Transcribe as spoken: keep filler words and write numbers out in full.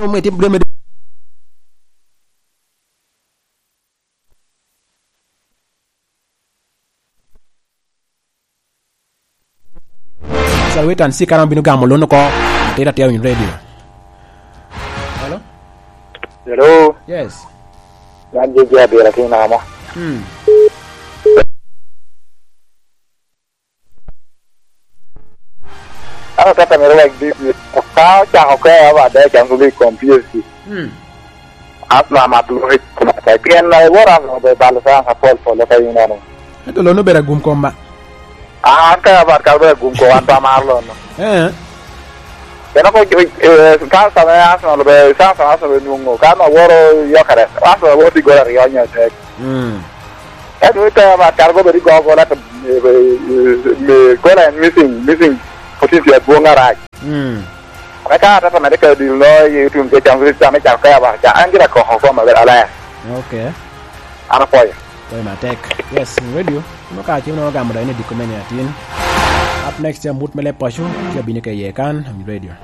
Mo itimo dwe me Salweta, an sika ram bino gamo lon oko. Atira atira winy radio. Hello? Hello? Yes. Man J J Abira, tin amo. Hmm. An atata mere wek di, ka ocako ke aba de Champions League kom P S G. Hmm. Arsenal mat loc. Pien na iwor Arsenal be balo chance apol pol ka yin ano. Ento lon obedo agum kom ba. Ah, an ka abat ka obedo agum kom, an pe amaro lon no. Eh. Pien oko, eh, chance ame Arsenal be, chance ame Arsenal be nwoŋo, ka an aworo Gyökeres, Arsenal woro i gol aryo nyo adek. Hmm. Ento ka abat ka obedo i go gol, ento, eh, eh, eh, gol en missing, missing potential adwoŋ arac. Mm. Ame ka atata mere ka dil no, i tun ke Champions League, ame cako ka aba, ca, an gira koko koma ber alaya. Okay. An apwoyo. Pwoyo matek. Yes, radio. Kuno ka cim no gamo da in i diko mene atin. Up next, ya mut me leb paco, tye abino ke iye kan, on radio.